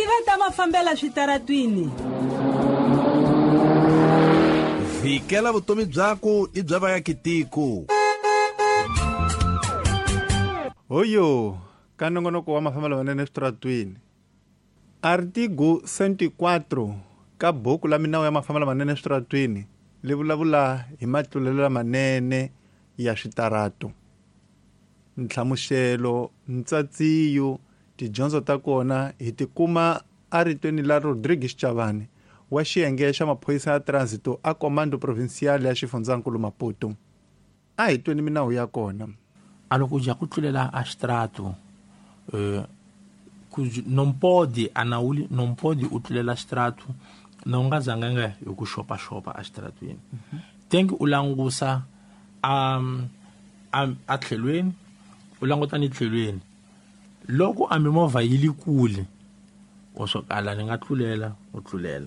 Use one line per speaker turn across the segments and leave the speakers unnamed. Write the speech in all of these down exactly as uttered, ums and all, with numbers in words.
Tiva ta mafambela switaratwini.
Vikela vutomi byako i bya vaakitiko.
Hoyo, ka nongonoko wa mafambelo manene eswitaratwini. Artigo cento e quatro ka buku la minawu ya mafambelo manene eswitaratwini li vulavula hi matlulelo lamanene ya switarato. Nhlamuselo, ntsatsiyo, tidyondzo ta kona hi tikuma aritweni la Rodrigues Chavani wa xiyenge xa maphorisa ya transito a Comando Provincial ya xifundzankulu Maputo. A hi tweni minawu ya kona.
A loko ja ku tlulela a xitrato, eh, non pode a nauli non pode u tlulela xitrato na u nga zanga nga hi ku xopaxopa a xitratweni. Tem que u langusa a a a tlhelweni, u languta ni tlhelweni. Loko a mimovha yi le kule, o swo kala ni nga tlulela, u tlulela.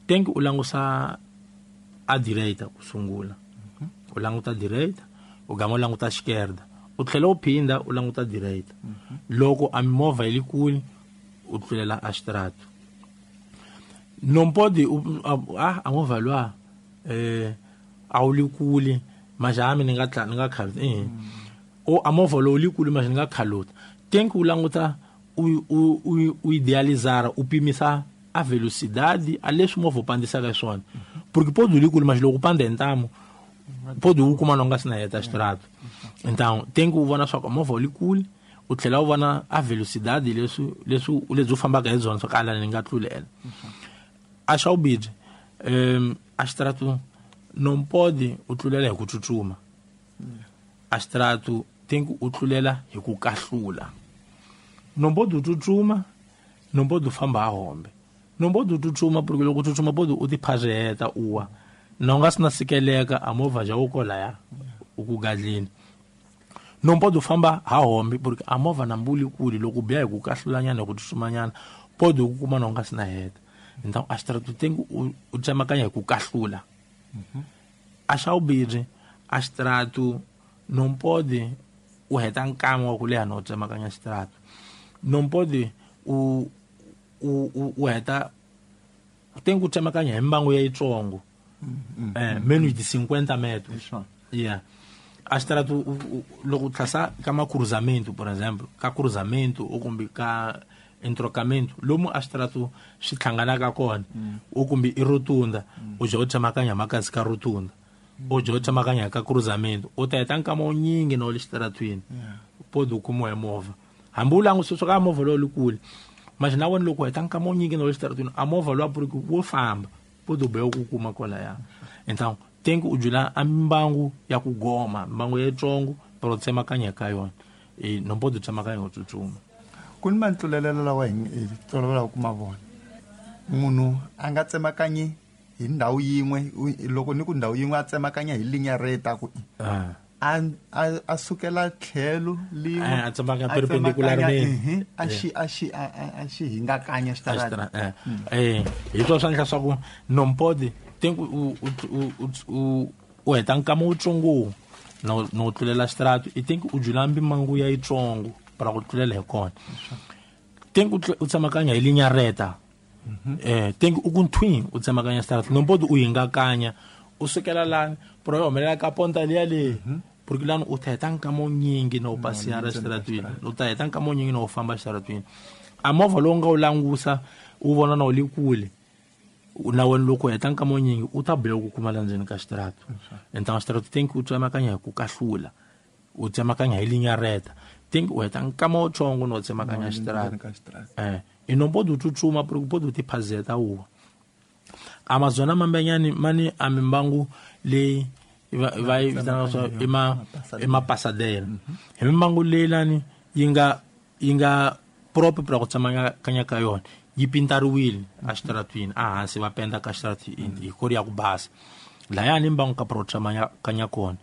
Tem que u langusa a direita ku sungula. U languta direita, u gama u languta esquerda. U tlhela u phinda u languta direita. Loko a mimovha yi le kule, u tlulela a xitrato. Non pode ah a movha lwa eh a wu le kule, mas a mi ni nga tla ni nga khaluta eh. O a movha lowu le kule mas ni nga khaluta. Tem que u languta u u u idealizar, u pimisa a velocidade a leswi movha u pandisaka swona. Porque pode u le kule mas loko u panda hi ntamu, pode u kuma na u nga si na heta xitrato. Então tem que u vona swa ku movha wu le kule, u tlhela u vona a velocidade leswi leswi lebyi u fambaka hi byona swa ku ala ni nga tlulela. A xa vumbirhi, um a xitrato non pode u tlulela hi ku tsutsuma. A xitrato tem que u tlulela hi ku kahlula. Non pode u tsutsuma, non pode u famba a hombe. Non pode u tsutsuma porque loko u tsutsuma pode u tiphazeta u wa. Na u nga si na sikeleka a movha ja wu kolaya u ku gadleni. Non pode u famba ha hombe porque a movha na mbuli kule loko u biha hi ku kahlulanyana hi ku tsutsumanyana pode u kuma na u nga si na heta. Então a xitrato tem que u u tsemakanya hi ku kahlula. A xa vumbirhi, a xitrato non pode u heta nkama wa ku leha na u tsemakanya xitrato. Non pode u u u heta tem que u tsemakanya hi mbangu ya yitsongo. Eh, menos de cinquenta metros. Yeah. A xitrato loko u tlhasa ka macruzamento, por exemplo, ka cruzamento ou kumbe ka entrocamento, lomu a xitrato swi hlanganaka kona, u kumbe i rotunda, u ja u tsemakanya makazi ka rotunda, u ja u tsemakanya ka cruzamento, u ta heta nkama wu nyingi na u le xitaratweni, pode u kumiwa hi movha. Hambi u langutisa swa ka movha lowu le kule, mas na wena loko u heta nkama wu nyingi na u le xitaratweni, a movha lowu a wo famba, pode u biha ku kuma kwalaya. Então tem que u jula a mbangu ya ku goma, mbangu ya yitsongo, pero tsemakanya ka yona. E non pode tsemakanya u tsutsuma.
Ku ni matlulelelo lawa hi tolovelaka ku ma vona. Munhu a nga tsemakanyi hi ndhawu yin'we, loko ni ku ndhawu yin'we a tsemakanya hi linya reta ku a a a sukela tlhelo lin'we,
a tsemakanya perpendicularmente,
a xi a xi a xi hingakanya xitarata.
Eh, hi swo swa endla swa ku non pode tem que u u u u heta nkama wutsongo no no tlulela xitrato, i tem que u jula mbimangu ya yitsongo para ku tlulela hi kona. Tem que u tsemakanya hi linya reta. Eh, tem que u ku nthwini u tsemakanya xitrato, non pode u hingakanya u sukela lani pero yi humelela ka ponta liya leyi, porque lani u ta heta nkama wunyingi na u pasiyara xitaratweni, u ta heta nkama wunyingi na u famba xitaratweni. A movha lowu nga wu langusa u vona na wu le kule, na wena loko u heta nkama wunyingi u ta biha ku kuma la ndzeni ka xitrato. Então xitrato tem que u tsemakanya hi ku kahlula, u tsemakanya hi linya reta. Tem que u heta nkama wutsongo na u tsemakanya xitrato. Eh, i non pode u tsutsuma porque pode u tiphazeta u wa. Amazona mambenyani mani a mimbangu leyi va yi vitanaka swa i ma i mapasadela. Hi mimbangu leyi lani yi nga yi nga proper pra ku tsemakanya ka yona, yi pintariwile a xitaratwini, a hansi va penda ka xitarati hi kori ya ku basa. Laya ni mbangu ka pro tsemakanya kona.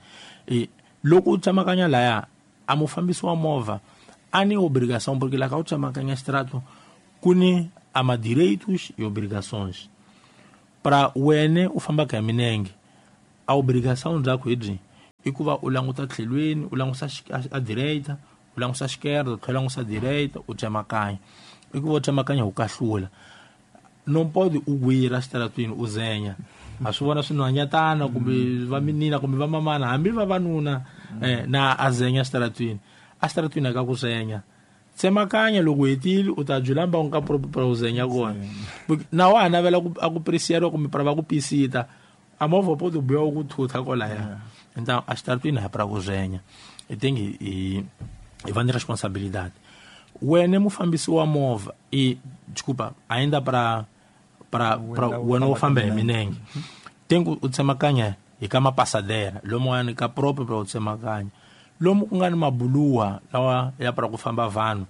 E loko u tsemakanya laya, a mufambisi wa movha a ni obrigação porque lá ka u tsemakanya xitrato ku ni a ma direitos e obrigações. Pra wena u fambaka hi minenge, a obrigação byakho hi byi i ku va u languta tlhelweni, u langusa a direita, u langusa esquerda, u tlhela u langusa direita, u tsemakanya. I ku vo tsemakanya u kahlula. Não pode u gwira xitaratwini u zenya. A swi vona swinhwanyatana kumbe va minina kumbe va mamana hambi vavanuna eh, na a zenya xitaratwini. A xitaratwini ka ku zenya. Tsemakanya loko hetile u ta byela u nga para u zenya kona. Na wa navela ku a ku presiero kumbe para va ku pisita. A movha pode buya ku thutha kwalaya. Então a xitaratwini ha para ku zenya. E tem e e va ni responsabilidade. Wena mufambisi wa movha e desculpa, ainda para para para wena u famba hi minenge. Tem ku u tsemakanya hi ka mapasadera, lomu wa ka próprio para u tsemakanya. Lomu ku nga ni mabuluwa lawa ya para ku famba vanhu,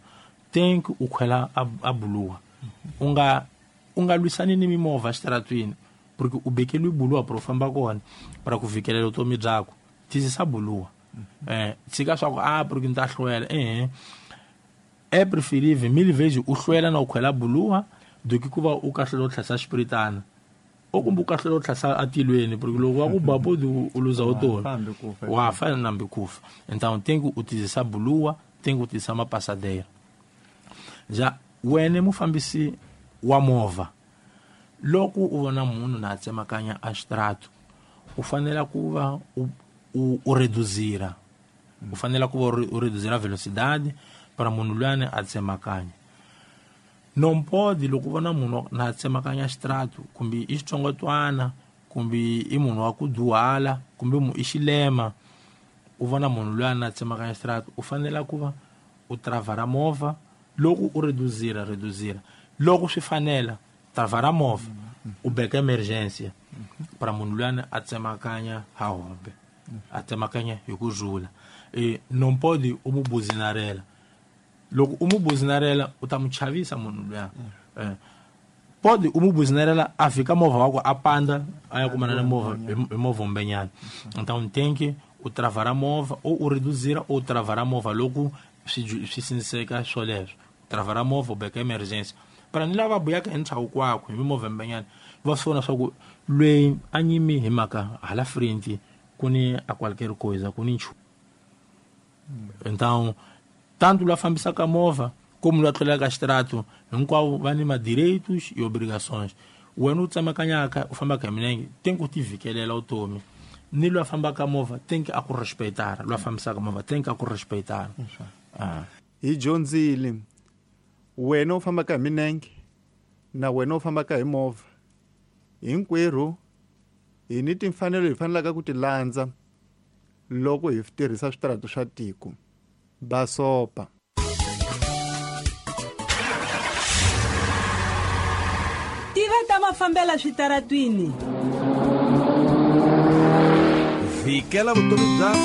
tem ku u khwela a buluwa. U nga u nga lwisani ni mimovha xitaratwini porque u bekeliwe buluwa para u famba kona para ku vikelela vutomi byakho. Tizisa buluwa. Eh, tshika swa ku a porque ni ta hlwela eh. É preferível mil vezes u hlwela na u khwela buluwa do que ku va u kahlula u tlhasa xipiritana. O kumbe u kahlula u tlhasa atilweni porque loko wa ku ba podi u luza vutomi. Wa fa nambi kufa. Então tem que utilizar buluwa, tem que utilizar uma passadeira. Já wena mufambisi wa movha loko u vona munhu na tsemakanya a xitirato u fanele ku va u u, u reduzira. U fanele ku va u reduzira a velocidade para munhu luyani a tsemakanya. Não pode loko u vona munhu na tsemakanya xitirato kumbe i xitsongwatswana kumbe i munhu wa ku dyuhala kumbe i xilema u vona munhu luyani na tsemakanya xitirato u fanele ku va u travara movha loko u reduzira reduzira loko swi fanela travara movha u beka emergência para munhu luyani a tsemakanya ha hombe a tsemakanya hi ku rhula. E não pode u mu buzinarela. Loko u mu buzinarela u ta mu chavisa munhu luya. Eh, pode u mu buzinarela a fika movha wakwe a panda a ya kumana na movha hi movha umbenyana. Então tem que u travara movha ou u reduzira ou travara movha loko swi swi sinseka swoleswo. Travara movha u beka emergência para ni lava buyaka hi ntshawu kwakwe hi mimovha mbenyana va swi vona swa ku lweyi a nyimi hi mhaka hala frente ku ni a qualquer coisa ku ni nchumu. Então tanto lá fambisaka movha como lá tlulaka xitirato hinkwavo va ni madireitos e obrigações. Wena u tsemakanyaka u fambaka hi milenge tem ku ti vikelela vutomi ni lwa fambaka movha tem que a ku respeitar, lwa fambisaka movha tem que a ku respeitar. Ah.
Hi dyondzile wena u fambaka hi milenge na wena u fambaka hi movha hinkwerhu hi ni timfanelo hi fanelaka ku ti landza loko hi tirhisa switirato swa tiko. Basopa.
Tiva ta mafambela switaratwini.
Vikela vutomi bya